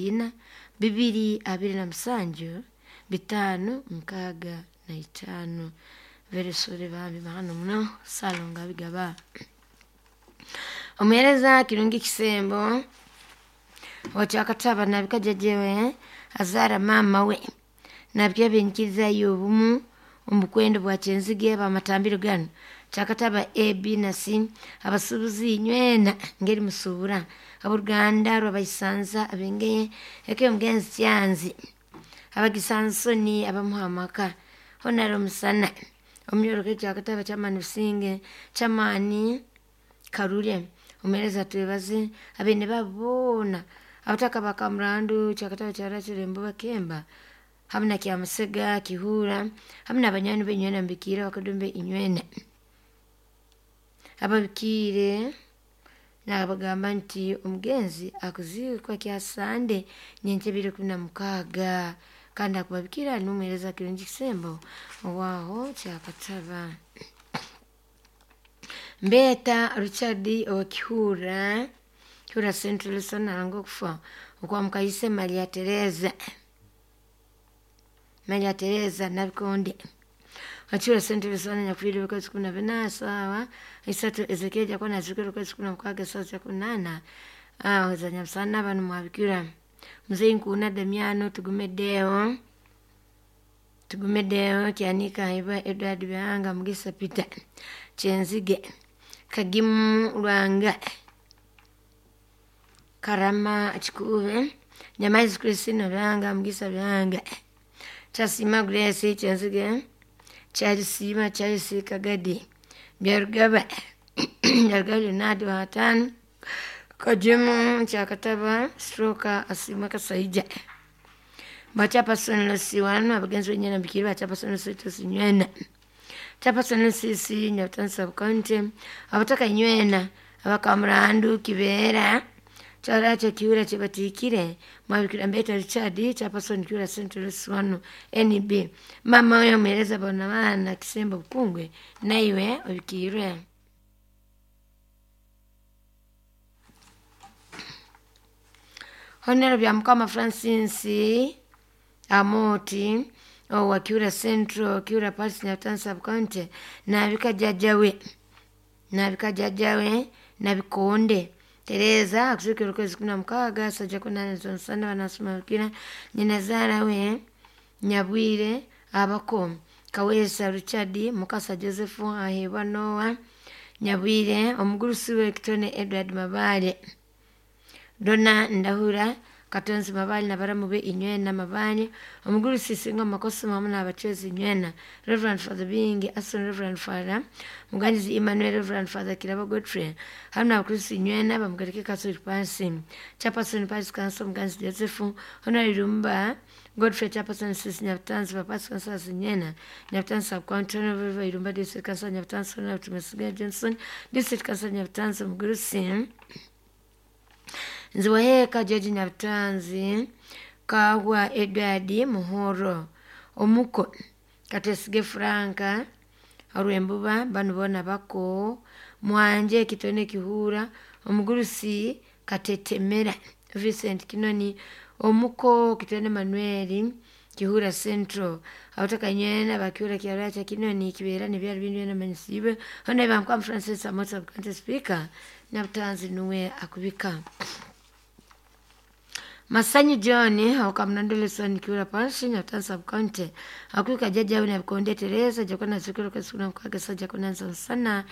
ina, bibiri abiri na musanju, bitaano mukaaga na itaano. Very sorry bambi mahano muno Ssalongo Abigaba. Omuheereza Kirungi Kisembo owakyakataba nabika jjajjawe azaara maama we nabika ebinyikiriza y'obumu omu bukwenda bwa Kyenzige bamatambiro ganu kyakataba A, B na C abasuubuzi inywena ngeri musuubura abooluganda rw'abaisanza ab'engeye eka y'omugenzi Kyanzi abagisansoni abamuha amaka Honare Omusana omunyoroke kyakataba kyamaani Businge kyamaani Karure omuheereza twebaze abaine baabo boona abataka ba Kamurandu kyakataba kya Rachel Embuba Kemba hamu na Kyamusega Kihuura hamu n'abanywani be inywena mubikiire abakadumbe inywena ababikiire nabagamba nti omugenzi akuziikwa kya Sande nyenkya ebiro ikumi na mukaaga kandi akubabikiira n'omuheereza Kirungi Kisembo owaaho Kyakataba. Mbeeta Richard owa Kihuura, Kihuura Central Sonaranga okufa okwa Mukaise Maria Tereza. Maria Tereza Nabikonde. Wakihuura Central Sona nyakufiire okwezi kumi na bina saawa isatu Ezekiel jakona azikire okwezi kumi na mukaaga esaawa za kunaana aho za nyamusana banu mwabikira. Mzee Nkuuna Damiano tugumeddeewo tugumeddeewo Kyanika Iba Edward Bihanga Mugisa Peter Kyenzige Kagimu Lwanga Karama Kikuube Nyamaizi Christina Bihanga Mugisa Bihanga Kyasiima Grace Kyenzige Kyalisiima Charles Kagadi Byarugaba Byarugaba Leonard Wataano Kagimu Kyakataba Stroka Asiimwe Kasaija Bachapason Lucy wanu abagenzi benyina mbikiri bachapason Lucy tusinywena Chapason Lucy si Nyabutansi Sub County abataka inywena abakamurandu Kibeera Kyaracho Kiura kyebatiikire mwabikira Mbeta Richard Chapason Kiura Central Lucy wanu NB mama oyo omuheereza bona baana Kisembo Bukungwe naiwe obikiirwe. Honero bya Mukama Francis Amoti owa Kiura Central, Kiura Parish, Nyabutansi Sub County nabika jjajjawe nabika jjajjawe Nabikonde Tereza akuziikirwa okwezi kumi na mukaaga sajja kunaana z'omusana banasoma bikira nyina zaara we Nyabwire abako Kaweesa Richard Mukasa Joseph Aheebwa Noah Nyabwire omugurusi we Kitone Edward Mabaale Donna Ndahura Katonzi Mabaale nabaramu be Inywena Mabaale omugurusi Singa Makosoma hamu n'abacwezi Inywena Reverend Father Bingi Aston Reverend Father Muganyizi Emmanuel Reverend Father Kirabo Godfrey hamu n'abakristu Inywena bamugarike Catholic Parish Chairperson Parish Council Muganyizi Joseph Honorary Lumba Godfrey Chairperson Sisi Nyabutansi ba Parish Council Inywena Nyabutansi Sub County Honorable Irumba District Council Nyabutansi Honorable Tumesiga Johnson District Council Nyabutansi omugurusi Nziwaheka George Nyabutanzi Kahwa Edward Muhoro omuko Katwesige Franka Orwembuba banu boona bako Mwanje Kitone Kihuura omugurusi Katetemera Vincent Kinoni omuko Kitone Manuel Kihuura Central abataka inywena bakihuura Kyaracha Kinoni Kibeera nebyaro bindi byona manyisiibwe Honorable Mukama Francis Amoti Sub County Speaker Nyabutanzi nuwe akubika. Masanyu John Okamunondo Lesson Kiura Parish Nyabutansi Sub County akubika jjajjawe Nabikonde Tereza jakona zikiro kwezi kumi na mukaaga sajja kunanza nsana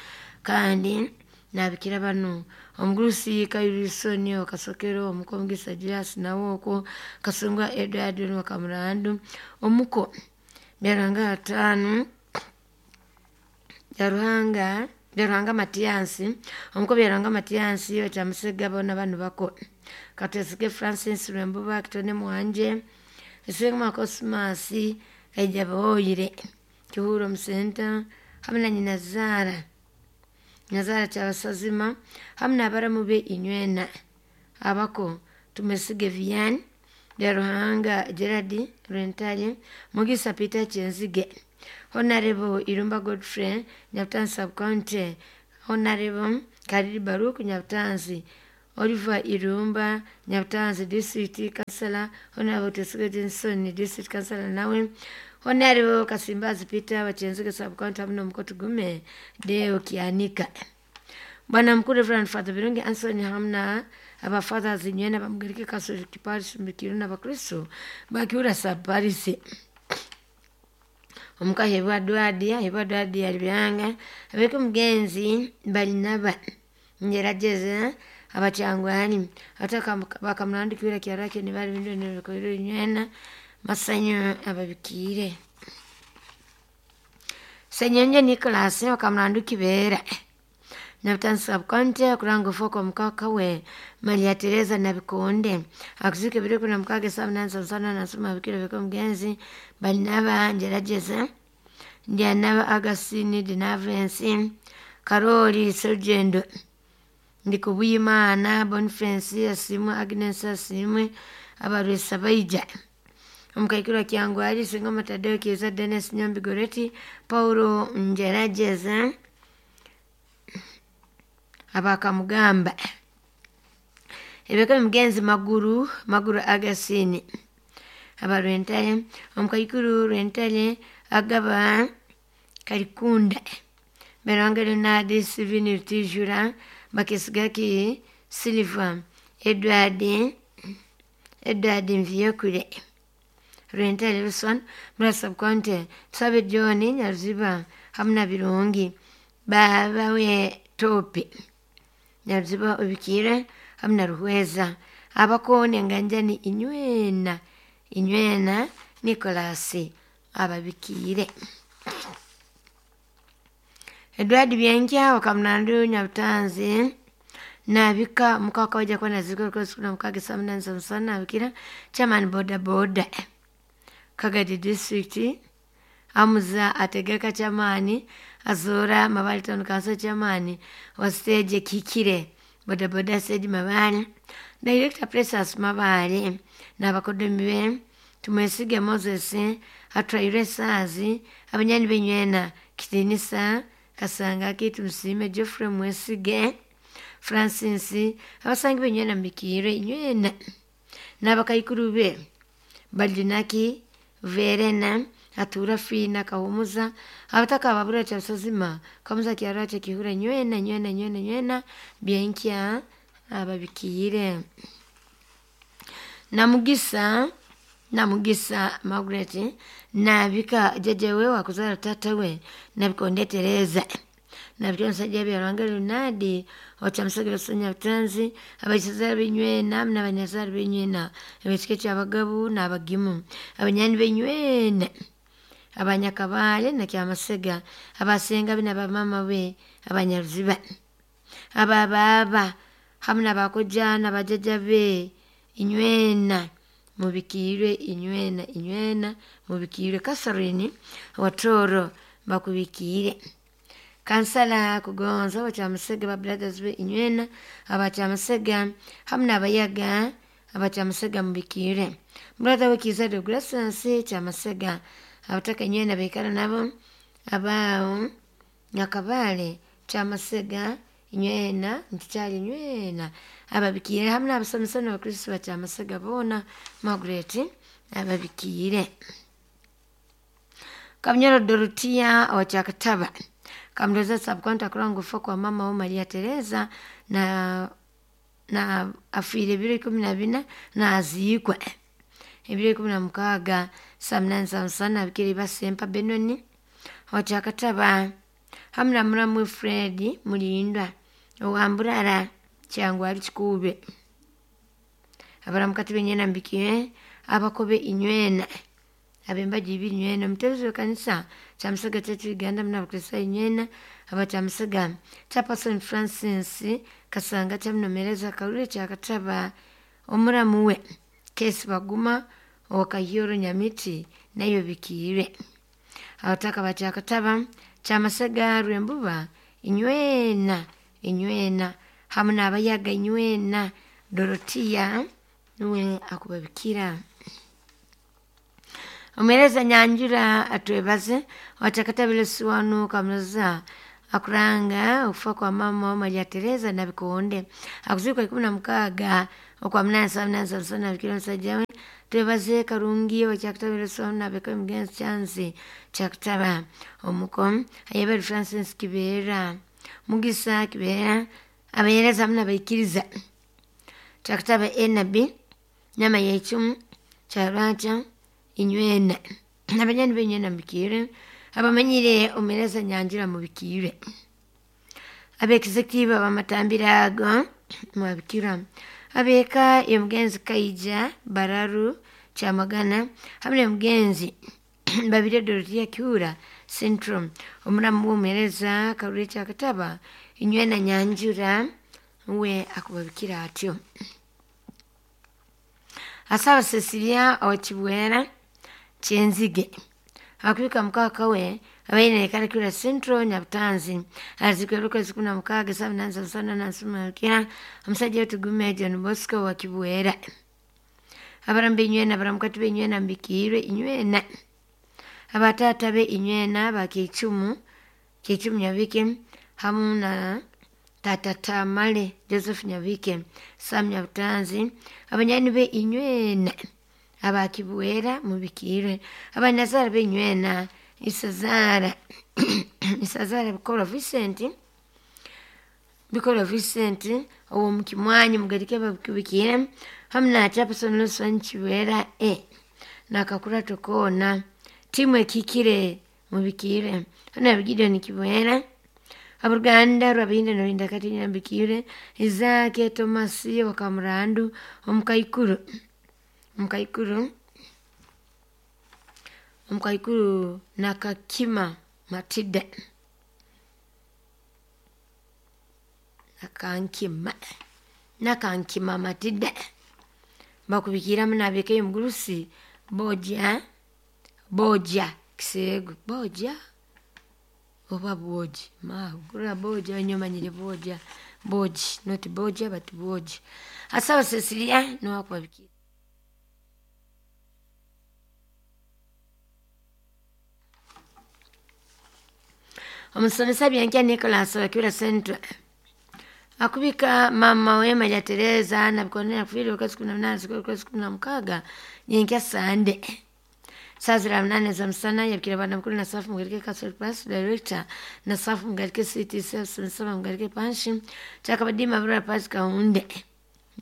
kandi nabikira banu omugurusi Kairisoni Okasokero omuko Mugisa Julius Nawooko Kasungwa Edward Wakamurandu omuko Byaruhanga Ataano Byaruhanga Byaruhanga Matiansi omuko Byaruhanga Matiansi Okyamusega boona banu bako Katwesige Francis Rwembuba Kitone Mwanje Isingma Cosmas Kaija Boyire Kihuura Omusenta hamu na nyina zaara Nyazaara Kyabasazima hamu n'abaramu be Inywena abako Tumesige Vian Byaruhanga Gerard Rwentare Mugisa Peter Kyenzige Honorable Irumba Godfrey Nyabutansi Sub County Honorable Kariri Baruku Nyabutansi Oliver Irumba, Nyabutanzi District Councillor, Honorable Twesige Johnson District Councillor nawe, Honorable Kasimbazi Peter Wachenzige Sub County hamwe n'Omukotugume Deo Kianika. Bwana Mkuu Reverend Father Birungi Anthony hamna abafathers nywena bamugereke Catholic Parish Mbikiru n'Abakristo bakiura sub parish. Omukahebwa Dwadi, ahebwa Dwadi alibyanga, abeke mugenzi balinaba ngerageza abakyangwani ataka bakamurandikira kyarake nibali bindu nebikorero nywena masanyu ababikiire. Senyonje Nicholas bakamurandu kibera Nyabutanzi Sub County akuranga ofoko mukaka we Maria Teresa Nabikonde akuzike biri kuna mukage saa munani saa musana nasoma bikiro biko mugenzi balinaba ngerageza ndyanaba Augustine Dinavensi Karoli Serugendo Ndikubuyimana Boniface Asimwe Agnes Asimwe abarwesa baija omukaikuru Kyangwali Singoma Tadeo Kiza Dennis Nyombi Goreti Paulo Ngerageza abakamugamba ebeka mugenzi Maguru Maguru Agasini abarwentale omukaikuru Rwentale agaba Kalikunda Beranga Leonard Steven Rutijura Bakesigaki Silva Edward Edward Mviyekure Rwentale Wilson Mura Sub County Tusabe John Nyaruziba hamwe na Birungi babawe Topi Nyaruziba Obikire hamwe na Ruhweza abakone nganjani inywena inywena Nicholas ababikiire. Edward Byenkya wakamunandu Nyabutanzi nabika mukaka waja kuba nazikora kuna mukage saa munani saa musana nabikira chairman boda boda Kagadi District amuza ategeka chairman azora Mabale Town Council chairman wa stage kikire boda boda stage Mabale Director Precious Mabale n'abakodomi be Tumwesige Moses atwaire Saazi abanyani benywena Kitinisa Kasanga Kitu Musime Geoffrey Mwesige Francis abasangi benywena mbikire inywena n'abakaikuru be Balinaki Verena atura Fina Kahumuza abataka ababura cha Sazima Kamuza kiarache kihura nywena nywena nywena nywena byenkya ababikire. Namugisa Namugisa Margaret nabika jejewe wakuzara tata we Nabikonde Teresa nabikira omusajja Byaruhanga Leonard okyamusagiro Nyabutanzi abaisazara benywena n'abanyazara benywena ebekika ky'abagabu n'abagimu abanyani benywena abanyakabale nakyamasega abasenga be n'abamama be abanyaruziba ababaaba hamwe n'abakojja n'abajjajja be inywena mubikiirwe inywena inywena mubikiirwe. Catherine Watoro bakubikiire. Kansala Kugonza abakyamusega ba brothers be inywena abakyamusega hamwe n'abayaga abakyamusega mubikiire. Brother we Kiza Deogratias kyamasega abataka inywena baikara nabo abaawo Nyakabale kyamasega inywena ntikyali inywena ababikiire hamwe n'abasomesa n'abakristo bakyamasega boona Margaret ababikiire. Kamunyoro Dorotia owakyakataba Kamdoza Sub County akuranga okufa kwa mama we Maria Teresa na afiire ebiro 14 naziikwa ebiro 16 saa munani saa musana abikire Basempa Benoni owakyakataba hamwe na muramu Fred Mulindwa owamburara Kyangwali Kikuube abaramukati benywena mbikiire abakobe inywena abembaji ibiri inywena omutebezi w'ekanisa kyamusega Church Uganda hamwe n'abakristayo inywena abakyamusega Chairperson Francis Kasanga kyamunomereza Karure kyakataba omuramu we Kesi Baguma owakahioro Nyamiti nayo bikiire. Abataka bakyakataba kyamasega Rwembuba inywena inywena hamwe n'abayaga inywena Dorotia nuwe akubabikira. Omuheereza Nyanjura atwebaze owakyaakatabire Siwanu Kamuloza Akuranga okufa kwa mama Maria Teresa Nabikonde. Akuzikwa 16 okwa 8 saa 8 za mchana bikira omusajja we twebaze Karungi owekyakutabira Sona abeka mugenzi Chansi kyakutaba omuko ayebere Francis Kibeera Mugisa Kibeera abahereza hamwe n'abaikiriza kyakutaba Enabi nyama yechumu kyarwakya inywena abanyani b'enywena mubikire abamanyire omuhereza nyanjura mubikire ab'executive abamatambira ago mwabikira abeka omugenzi Kaija Bararu Kyamagana hamwe n'omugenzi Babirye Dorothea Kiura Central omuramu w'omuhereza Karuri Kyakataba inywena nyanjura we akubabikira atyo. Asaba Cecilia owekibwera Kyenzige akubika mukaka we abaine ekara Kiura Central Nyabutanzi azikwe okwezi 16 saa 8 za mchana na nsumukira omusajja wetugume John Bosco wa Kibwera abarambe inywena abaramukati b'enywena mbikirwe inywena abatata be inywena bakichumu Kichumu Nyabike hamu na tata Tamale Joseph Nyabike Sam Nyabutanzi abanyani be inywena abakibwera mubikirwe abanyazara b'enywena Isazara Isazara Bikora Vincent owo mukimwanyi mugarike babikubikire hamwe na Chaperson Lawson Kiwera nakakura tokona timu ekikire mubikire hano Gideon Kiwera abaruganda rwabinda norinda kati nyambikire Isaac Thomas wakamurandu omukaikuru nakakima Matida nakankima Matida bakubikira munabeke omugurusi boja kisego boja oba boji ma boja nyomanyire boja boji not boja but boji asaba Cecilia no akubabikira. Omusomesa Byankya Nicholas wa Kiura Central akubika mama we Maria Teresa Nabikonde kufiire okwezi 18 okwezi 16 nyenkya Sande saa 8 za mchana yabikira bana mukuru na safu mugarike Castle Pass Director na safu mugarike City Service saba mugarike Panshi chakabadima bura Pass Kaunde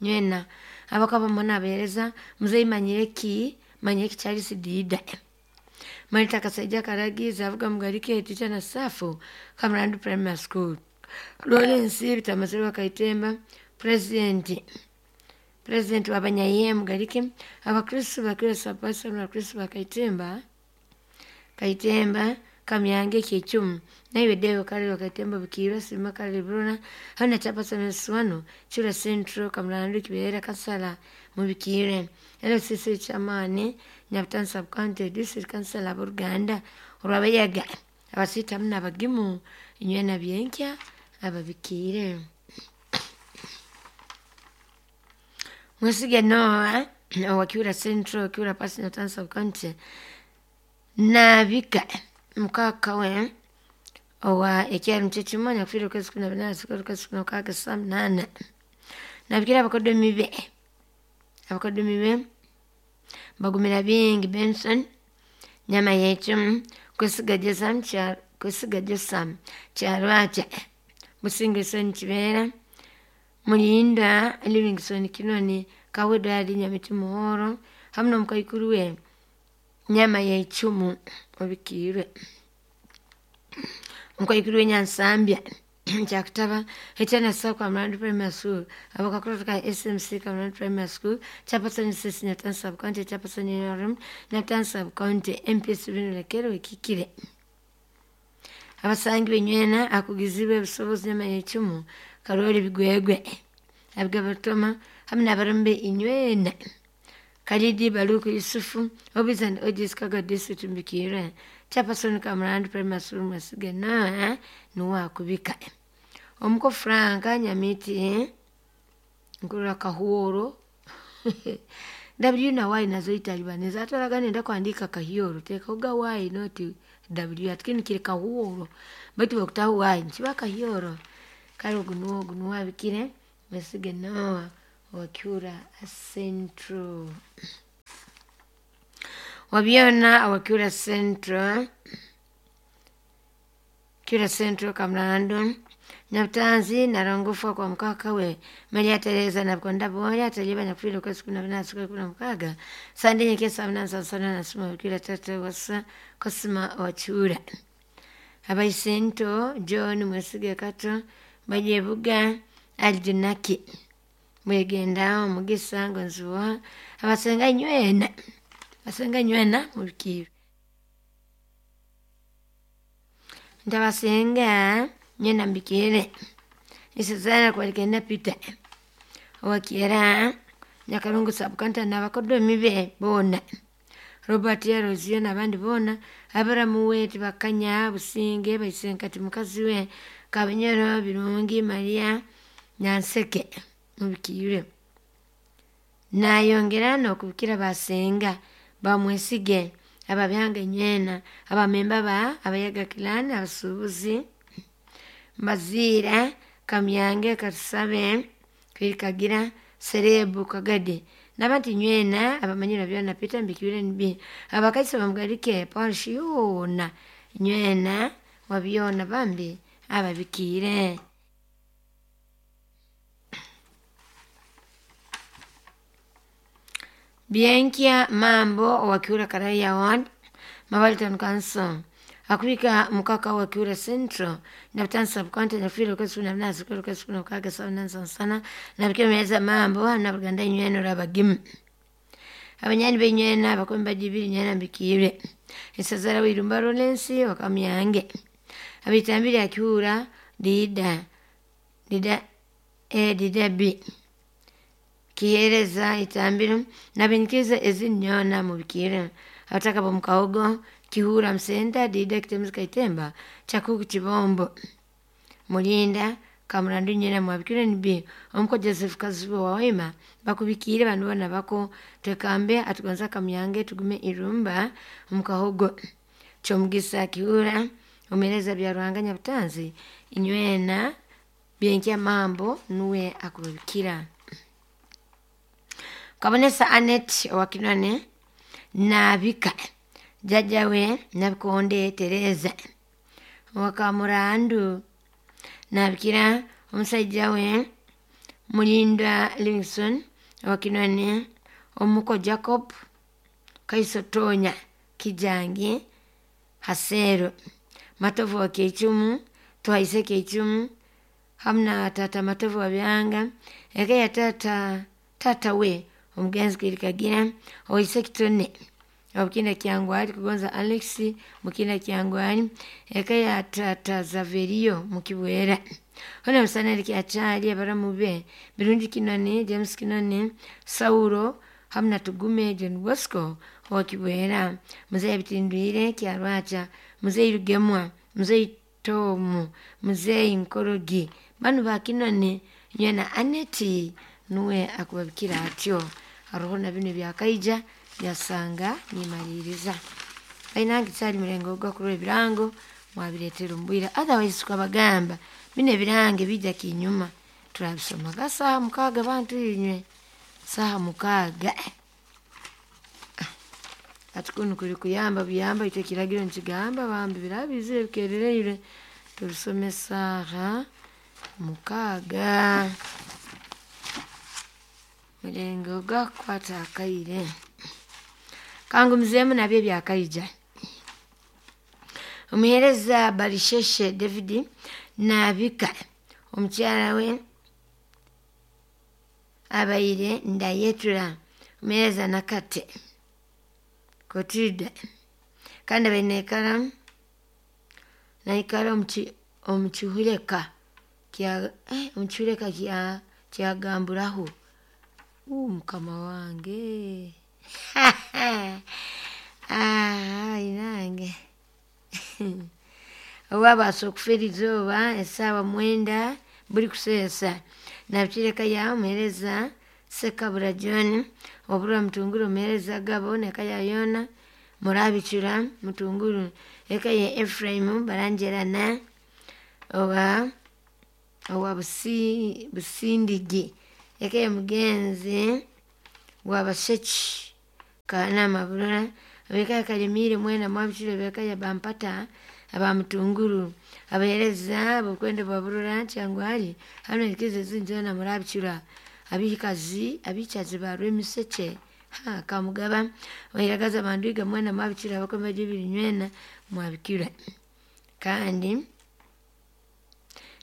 nywena abakaba mona abereza muzei manyeki Charles Dida Marita Kasaija Karagiza avuga mugarike teacher na safu Kamrandu Primary School Lawrence Bitamasirwa Kaitemba President wabanyaye mugarike abakristo bakira sapasa na Kristo bakaitemba Kamyange Kichumu naiwe Deo Kale Kaitemba bikira Sima Kale Bruna hana chapasa na Swano Chura Central Kamrandu Kibera Kasala mubikire LCC chamane Nyabutanzi Sub County District Council aburuganda olwabayaga abasitamu n'abagimu inywena byenkya ababikire. Mwesige Noah owa Kiura Central Kiura Pass Nyabutanzi Sub County nabika mukaka we owa ekyalo mchechimanya kufiira okwezi 18 okwezi 16 saa 8 nabikira abakodomi be bagumira bingi Benson nyama yechumu kwesiga Josam Kyarwakya Busingisoni Kibeera Mulinda Livingstone Kinoni Kawedo ali Nyamiti Muhoro hamwe n'omukaikuru we nyama yechumu obikirwe omukaikuru we Nyansambya kyakutaba ekyana Kamrandu Primary School abakakuratu ka SMC Kamrandu Primary School Chaperson Sisi Nyabutanzi Sub County Chaperson NRM Nyabutanzi Sub County MP Binulekero ekikire abasangi benywena akugizibwe ebisobozi nyama yechumu Karoli Bigwegwe abigabatoma hamwe n'abarumbe inywena Kalidi Baluku Yusufu Obis and Ojis Kaga District mbikire Chaperson Kamrandu Primary School Mwesige na nuwa akubika omuko Franka Nyamiti nkurura Kahuoro W na Y nazo italibaneza ataraga nenda kuandika Kahioro teka uga Y not W ati kinu kiri kahuuro baitu bwokutaho Y nikiba kahyoro. Kale ogu nuwe abikire Mwesige Noah owa Kiura Central. Wabyona owa Kiura Central, Kiura Central Kamulando, Nyabutanzi narongofa kwa mukaka we Maria Teresa nabukonda boya ataliba nyakufiire okwezi 14 16 Sande nyekesa 8 nasoma bikira tata wasa Kosima wa Kiura. Abaisento John Mwesige Kato Bajebuga Aljunaki Mwegenda Omugisa Ngonziwa abasenga nywena mubikiire ntabasenga nywena mbikiire Isizana kwalikenda Peter owakyera Nyakarungu sub-county n'abakodomi be boona Robert Arozio n'abandi boona Aburamu we Tibakanya Businge Baisenkati mukazi we Kabinyoro Birungi Maria Nyanseke mubikiire. Nayongera n'okubikira basenga bamwesige ababyanga nywena abamemba ba Abayaga clan abasuubuzi Mbaziira Kamyange Katusabe Kwirikagira Serebu Kagadi n'abandi nywena abamanyire byona Peter Mbikiire NB abakaisi bamugarike parish yoona nywena wabyona bambi ababikiire. Byenkya Mambo owa Kiura Karaya Ward Mabali Town Council akubika mukaka wa Kiura Central Nabutani sub-county nyakufiire okwezi 14 16 sana nabikira meza Mambo nabuganda nywena orabagimu abanyani benywena abakombe bajibiri nywena mbikiire esazara wirumba Lawrence wakamyange abitambire Akiura Dida Dida A Dida B kihereza itambiro nabinikiriza ezinyona mubikiire abataka bomukahogo Kihura Msenta Dida Kitemuzi Kaitemba Chakuku Chibombo Mulinda Kamurandu nywena mwabikire NB omuko Joseph Kazuba wa Waima bakubikiire bandu boona bako twekambe atugonza Kamyange tugume irumba omukahogo Kyomugisa Kihura omuhereza Byaruhanga Nyabutanzi inywena Byenkya Mambo nuwe akubabikira. Kabonesa Annette owa Kinone nabika jjajja we Nabikonde Tereza owa Kamurandu nabikira omusajja we Mulindwa Livingstone owa Kinone omuko Jacob Kaiso Tonya Kijangi Hasero Matovu wa Keichumu Twaise Keichumu hamu na tata Matovu wa Byanga eka ya tata we omugenzi Kwirikagira owaise Kitone obukinda Kyangwali kugonza Alex mukinda Kyangwali eka ya tata Zaverio mukibwera hona musanali Kyachali abaramu be Birungi Kinone James Kinone Saulo hamu na Tugume John Bosco owakibwera Muzeyi Bitindwire Kyarwacha Muzeyi Rugemwa Muzeyi Tomu Muzeyi Nkorogi banu ba Kinone nywena Annette nuwe akubabikira atyo haroho na binu byakaija byasanga nimaliriza bainange kyali mulengo ogwakurora ebirango mwabireetera omu otherwise tukabagamba bino ebirango bijja kinyuma turabisomaga saaha 6 bantu inywe saaha 6 ati kunu kuli kuyamba buyamba itwe ekiragiro nikigamba bambi biraba bizire bikerereire tubisome saaha 6 mulengo gwakukwata akaire kangumizeemu nabyo ebyakaija. Omuheereza Barisheshe David nabika omukyala we abaire Ndayetura omuheereza Nakate Kotilda kandi abaire naikara omu kihureka kyagamburaho. Mukama wange inange owabaasa okufera izooba esaawa 9 buri kuseesa nabikira ya omuheereza Ssekabura John oburwa Mutunguru omuheereza Gabo neka ya Yona Murabicura Mutunguru, eka ye Efraimu Barangerana owa Busindigi, eka ye Mugenzi wa Basheki Kanama Burora, abeka ya Kalemire mwena Mwabicura, abeka ya Bampata aba Mutunguru, abahereza abokwenda bwa Burora Kyangwali hano nikize zinjona Murabicura, abihikazi abichazi ba Rwemiseke ha Kamugaba, oiragaza bandiga mwena Mwabicura, abakombe jibiri nywena Mwabikira. Kandi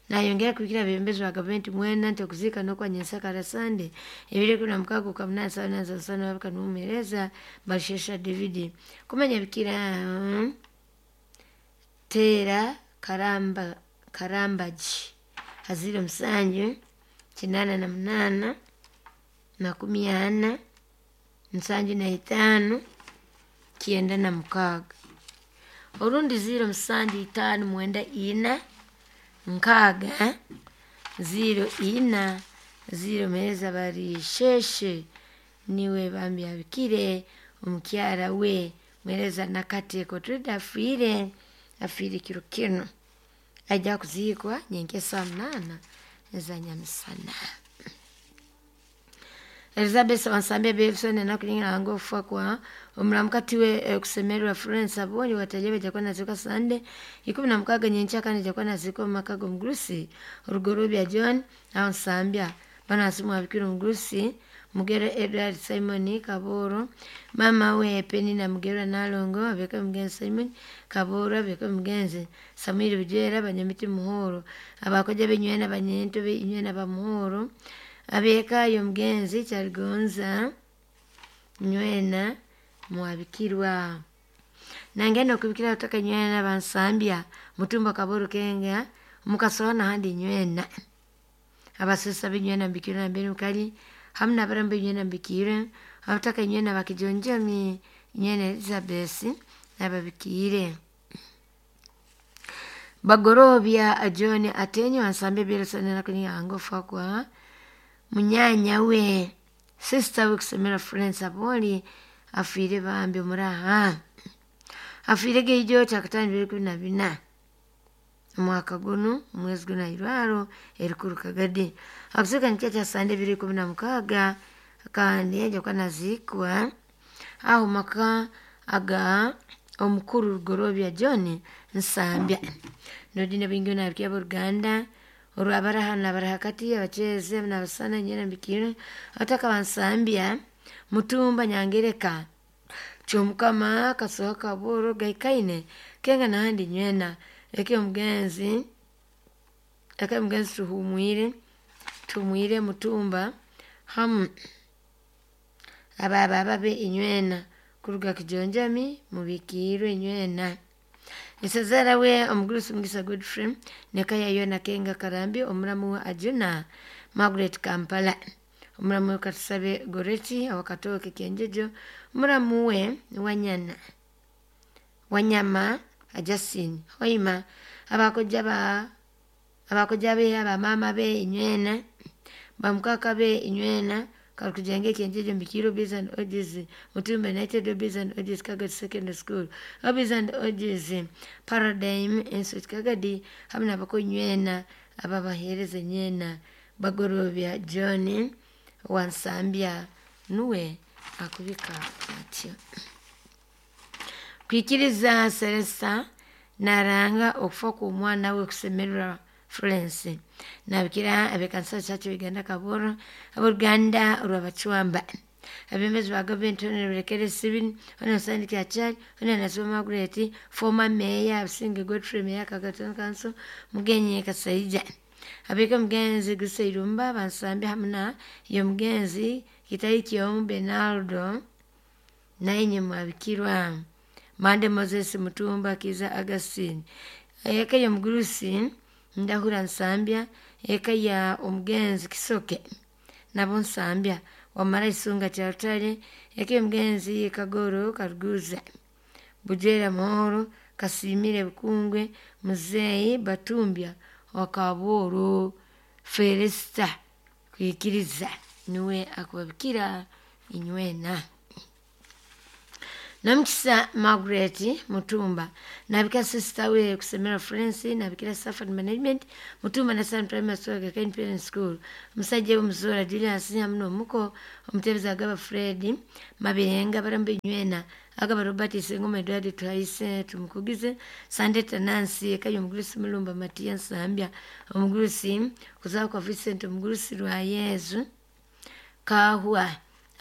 nayongera kubikira abebembezi ba gavumenti mwena nti okuzika n'okwanyesa karasande ebiro 16 kwa 8 saa 8 za sana babika n'omuheereza Barishesha David kumanya bikira Tera Karamba Karambaji haziro 7 88 40 75 96 orundi 0 7 5 9 6 0 4 0 meza Barisheshe niwe bambi abikire omukyara we mwereza nakate kotrida afiire kiro kino ajja kuziikwa nyenkya saa 8 za nyamisana. Elizabeth Wansambia Belson anakulinga ngofa kwa omulamukati we kusemererwa Florence Abonyi watajebe jakuwa nazikwa Sunday 16 nyencha kandi jakuwa nazikwa makago mgurusi Rugorobya John Wansambia bana asimu abikira mgurusi Mugero Edward Simon Kaboro, mama we Penina Mugero Nalongo abeka mugenzi Simon Kaboro, abeka mugenzi Samuel Bujera banyamiti Muhoro, abakoja benywena banyento benywena bamuhoro, abeka yo mugenzi Kyaligonza nywena Mwabikirwa. Nangenda okubikira utaka nywena Bansambya Mutumba Kaboro Kenga mukasoona handi nywena abasesa binywena mbikira mbere mukali hamna barambe nywena mbikire abataka nywena bakijonjami nywena Elizabeth nababikire. Bagorobya John Atenyo Wansambya Belson nakulinga ngofa kwa munyanya we sister we kusemera Florence Aboli afiire bambi muraha afiire geijo kyakatano 2024 omwaka guno omwezi guno irwaro erikuru Kagadi akuzuka nikyo kya Sande 2016 kandi aja nazikwa aho maka aga omukuru Rugorobya John Nsambya nodine bingi nabikya Uganda olwabaraha nabarahakati abacheze nabasana nyina mbikire ataka Bansambya Mutumba Nyangereka Kyomukama Kasoha Kaboro Gaikaine Kenga nahandi nywena eke mugenzi tuhumwire Mutumba hamu ababa babe inywena kuruga kijonjami mubikirwe inywena. Isazara we omugurusi Mugisa Godfrey nekaya yona Kenga Karambi omuramu wa Ajuna Margaret Kampala omuramu we Katusabe Goreti awakatoke Kenjejo omuramu we Wanyana Wanyama Ajasin Hoima abakoja be abamama be inywena bamukaka be inywena Kalukujenge Kenjejo Mbikiro Biz and Odis Mutumba United Biz and Odis Kagadi Secondary School Biz and Odis Paradigm Institute Kagadi hamwe nabako nywena ababahereza nywena Bagorobya John Wansambya nuwe akubika atyo. Kwikiriza Selesa naranga okufa ku mwana we kusemererwa Florence nabikira abekanisa Church Uganda Kaboro aboluganda olwabacwamba abembezi ba gavumenti Honorable Sibin Honorable Sandy Kyachari Honorable Nasiba Margaret former mayor Abusinge Godfrey Mayor Kagadi Council Mugenyi Kasaija abeka mugenzi Gusairumba Bansambya hamuna yo mugenzi Kitaiki Omu Benaldo nainye Mwabikirwa Mande Moses Mutumba Kiza Augustine eka yo mugurusi Ndahura Nsambya eka ya omugenzi Kisoke nabo Nsambya wamara Isunga Kyarutare eka yomugenzi Kagoro Karuguza Bujera Muhoro Kasimire Bukungwe Muzeyi Batumbya Wakaboro Felista kwikiriza niwe akubabikira inywena. Namukisa Margaret Mutumba nabika sister we kusemera Florence nabikira Safari Management Mutumba na Sun Primary School Gaken Parent School musajja w'omuzora Julius Nyamuno omuko omutebezi agaba Fred Mabirenga barambe nywena agaba Robert Sengoma Edward Twaise tumukugize Sande Tanansi ekayo omugurusi Mulumba Matiya Nsambya omugurusi kuzaa kwa Vincent omugurusi lwa Yezu Kahwa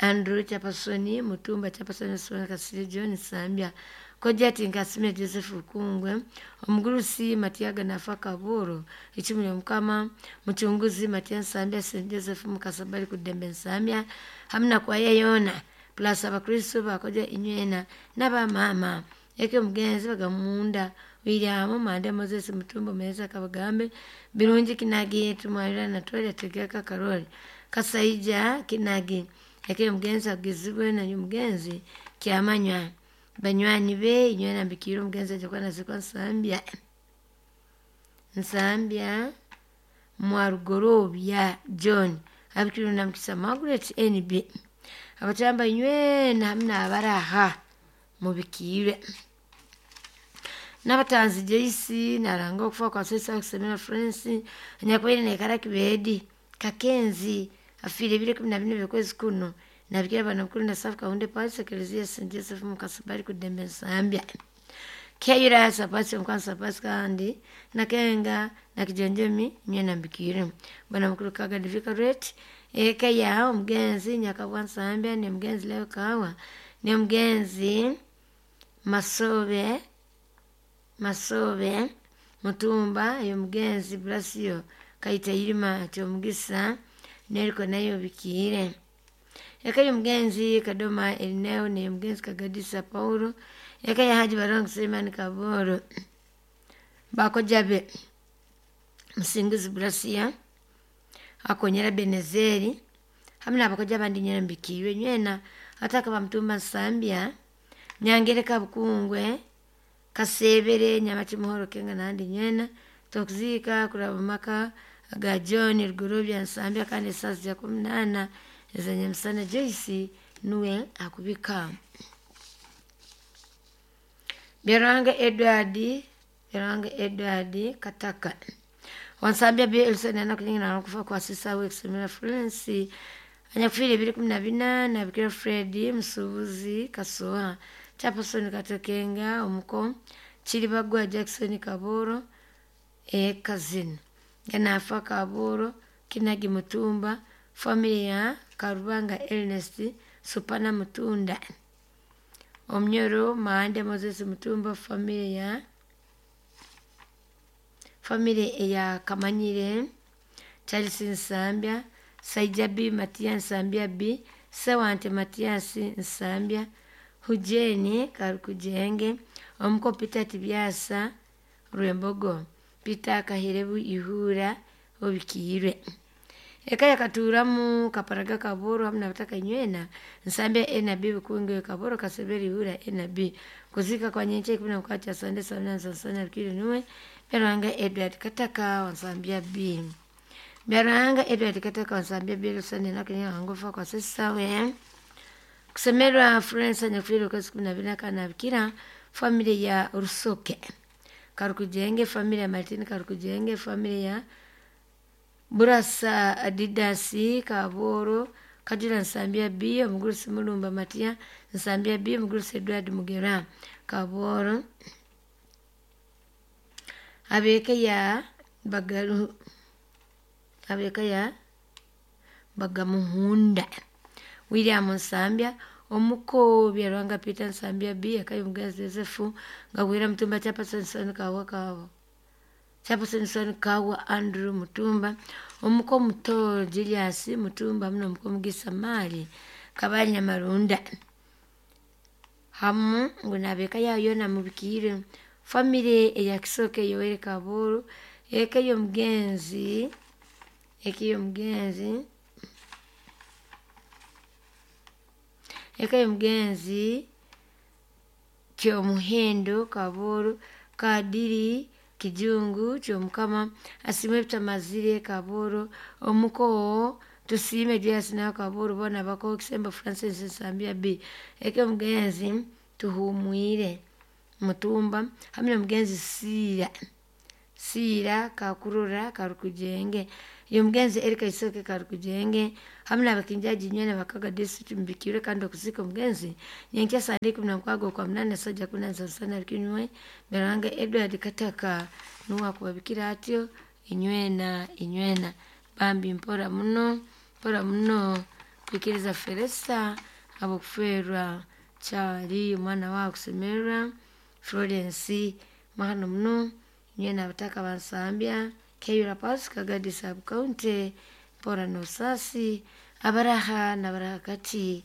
Andrew Chapasoni Mutumba Chapasoni Sona Kasire John Sambya Kojati Nkasime Joseph Kungwe omugurusi Matiaga Nafa Kaburo ichumi mukama muchunguzi Matia Nsambya St Joseph Mukasabali kudembe Nsambya hamna kwa yeyona plus abakristo bakoja inywena n'abamama eke omugenzi bagamunda William Mande Moses Mutumba Meza Kabagambe Birungi Kinagi Tumwalira na Twele Tegeka Karoli Kasaija Kinagi eke omugenzi agizibwe na omugenzi kyamanywa banywani be inywena mbikiro omugenzi ajakwa nazikwa Nsambya Nsambya Mwarugorobya John abikiro na Mukisa Margaret NB abatamba inywena hamna abaraha mubikire n'abatanzi Joyce naranga okufa kwa sesa kusemera Florence anyakwire nekara kibedi Kakenzi afire bile 14 byokwezi kuno nabikira bana mukuru na safu kaunde pasi eklezia St Joseph Mukasabali kudembe Nsambya Kayira sapasi mkwanza sapasi kandi nakenga nakijonjomi nyena mbikire bwana mukuru kaga divika rate eka ya omugenzi nyakabwa Nsambya ne mugenzi leo kawa ne mugenzi Masobe Masobe Mutumba yo mugenzi Blasio Kaita Irima kyomugisa neriko nayo bikire eka yo mugenzi Kadoma Elineo ne mugenzi Kagadisa Paulo eka ya Haji Barong Suleiman Kaboro bakojabe Musinguzi Blasia akonyera Benezeri hamna abakoja abandi nyera mbikiwe nywena ataka bamutumba Nsambya Nyangereka Bukungwe Kasebere Nyamachimuhoro Kenga nandi nywena tokuzika kuraba maka aga John Rugurubya Nsambya kandi sasa ja 18 ezanyamsana Joyce nuwe akubika Beranga Edward Kataka Wansambya B Elson na kunyinga na kufa kwa sisa we kusemera Florence anyakufire 2014 na bikira Fred Musubuzi Kasoha Chapason Katokenga omuko Chiribagwa Jackson Kaboro e cousin Ganafa Kaboro Kinagi Mutumba familia Karubanga Ernest Supana Mutunda Omnyoro Maande Moses Mutumba familia ya Kamanyire Charles Nsambya Saija B Matia Nsambya B Sewante Matias Nsambya Hujeni Karukujenge omuko Peter Tibyasa Rwembogo Peter Kahirebu Ihura obikirwe eka yakaturamu Kaparaga Kaboro hamna bataka nywena Nsambya NB Bukunge Kaboro Kaseberi Ihura NB kuzika kwa nyenche 10 cha sande sana sana kile nuwe Beranga Edward Kataka Wansambya B Beranga Edward Kataka Wansambya B sande nakenya ngofa kwa sasa we kusemerwa Florence nyakufiro kwa siku 14 kana bikira familia ya Rusoke Karukujenge familia ya Martin Karukujenge familia ya Burasa Adidasi Kaboro Kajula Nsambya B omugurusi Mulumba Matia Nsambya B omugurusi Edward Mugera Kaboro abeke ya Bagaru abeke ya Bagamuhunda William Nsambya omuko Byarwanga Peter Nsambya B akayo mugenzi Joseph ngawira Mutumba Chapason Kawa Kawa Chapason Kawa Andrew Mutumba omuko muto Julius Mutumba muno omuko Mugisa Mali Kabanya Marunda hamu ngunabeka yayo na mubikire family eya Kisoke Yoweri Kaburu eka yo mugenzi eka yo mugenzi Kyomuhendo Kaburu Kadiri Kijungu Kyomukama asimwe Bitamazire Kaburu omuko Tusime Julius na Kaburu bona bako Kisembo Francis Nsambya B eka mugenzi Tuhumwire Mutumba hamwe n'omugenzi Siira Siira Kakurora Karukujenge y'omugenzi Erika Isoke Karukujenge hamwe n'abakinjaji nywena bakaga district mubikire kandi okuzika omugenzi nyenkya sande 16 okwa munana sajja 17 kinywe Beranga Edward Kataka nuwe akubabikira atyo inywena inywena bambi mpora muno mpora muno kwikiriza Felesta habw'okufeerwa Kyali omwana wawe akusemererwa Florence mahano muno nywena abataka bansambya Kayura Pasika Gadi sub county mpora n'obusaasi abaraha n'abaraha kati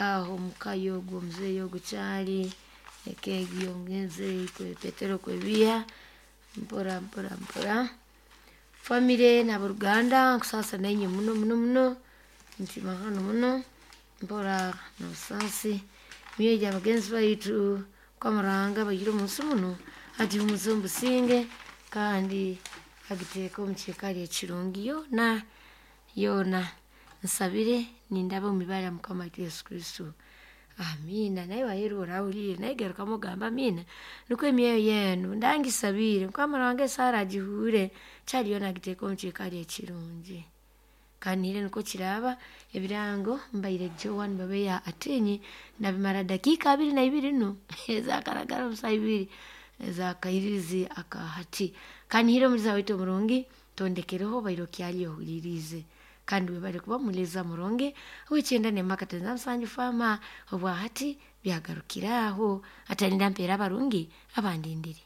aho omuka y'ogwo omuzeeyi ogwo Kyali eka egi y'omugenzi Petero Kwebiha mpora mpora mpora famire n'aboruganda nkusaasa nainywe muno muno muno nti mahano muno mpora n'obusaasi myoyo gy'abagenzi baitu Mukama Ruhanga abaihire omunsi muno agihumuze omu businge kandi agiteeke omu kiikaro ekirungi yoona yoona nsabire nindaba omu ibara lya Mukama waitu Yesu Kristo amiina. Naiwe aheeru oraahuliire nawe garukamu ogambe amiina nukwo emyoyo yenu ndangisabiire Mukama Ruhanga esaara agihuure Kyali yoona agiteeke omu kiikaro ekirungi. Kandi nukwo kiraaba ebirango mbaire Joan Babeya Atinyi nabimara dakiika 22 nu ezakaragara omu saaha ibiri ez'akairirizi aka hati. Kanihire omuliza waitu omurungi tondekereho obaire okyali ohuliriize kandi webale kuba muliza murungi ow'ekyenda n'emaka 97 faama obwa hati byagarukira aho atalinda mpeera abarungi abandindire.